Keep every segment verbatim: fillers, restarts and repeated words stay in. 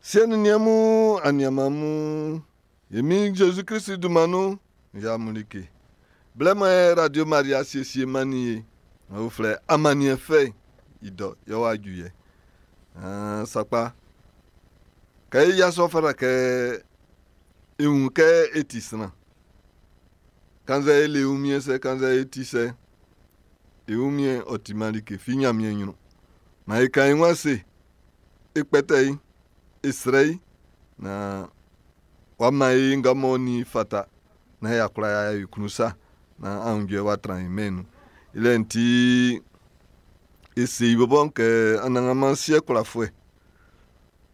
Siɛ nin niɛn mun, aniaan mun, e Min Zezi Klisi dunman nun, n yia amun like. Blɛ mɔ e Radio Maria siesie mannin e, ɔ flɛ amanniɛn fɛ i dɔ yɛ w'a ju yɛ. Ah, sakpa. Kɛ e yasua fata kɛ e wun kɛ e ti sran. Kannzɛ e le wunmiɛn sɛ, kannzɛ e ti sɛ, e wunmiɛn ɔ timan like fi Ɲanmiɛn ɲrun. Maan e kan e wun ase, e kpɛtɛ i, e srɛ i, na w'a man e nga m'ɔ nin i fata na y'a kwla y'a yo i klun sa na aunjuɛ w'a tran e mɛn'n nun. I lɛ'n ti e se i bɔbɔ'n kɛ Anannganman siɛ kwlafuɛ.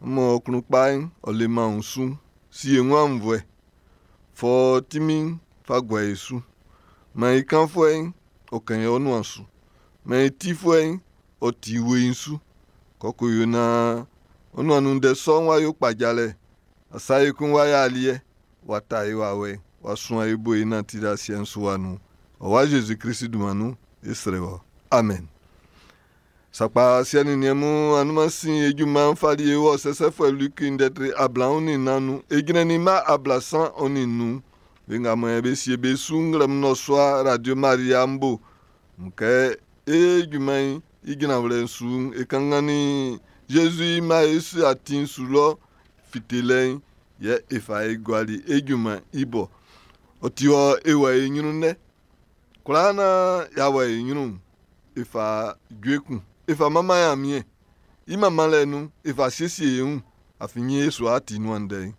Mɔ klun kpa'n ɔ leman wunsu si e wun aunnvuɛ. Fɔ tinmin'n fa gua e su. Maan i kanfuɛ'n ɔ kɛn i nuan su. Maan i tifuɛ'n ɔ ti weiin su. Kɔkɔ yo naan ɔ nuan nun ndɛ sɔ'n w'a yo kpajalɛ. Asa ekun w'a yɛ aliɛ, w'a ta e wawɛ, w'a suan e bo e nanti asiɛ'n su wa nun. Ɔ wa Zezi Klisi dunman nun, e srɛ wɔ. Amen. Sakpa siɛ nin niɛn mun anunman sin e junman'n fali e wɔ sɛsɛfuɛ Luki ndɛ tre ablaɔn nin nnan nun. E jrɛnnin mma ablasan ɔ nin nnun. Be nga mɔ be sie be su nglɛmun nnɔsua Radio Maria n bo. Kɛ e junman'n i jranwlɛ'n su'n, e kanngannin Zezi i mma e su atin'n su lɔ fitelɛ'n yɛ e fa e guali e junman'n i bo. Ɔ ti wɔ e wɔ e ɲrun dɛ. Kwlaa naan y'a wɔ e ɲrun'n, e fa jue kun. E fa manman Ɲanmiɛn. I manmanlɛ nun, e fa siesie e wun. Afin e su a ti nuan ndɛ'n.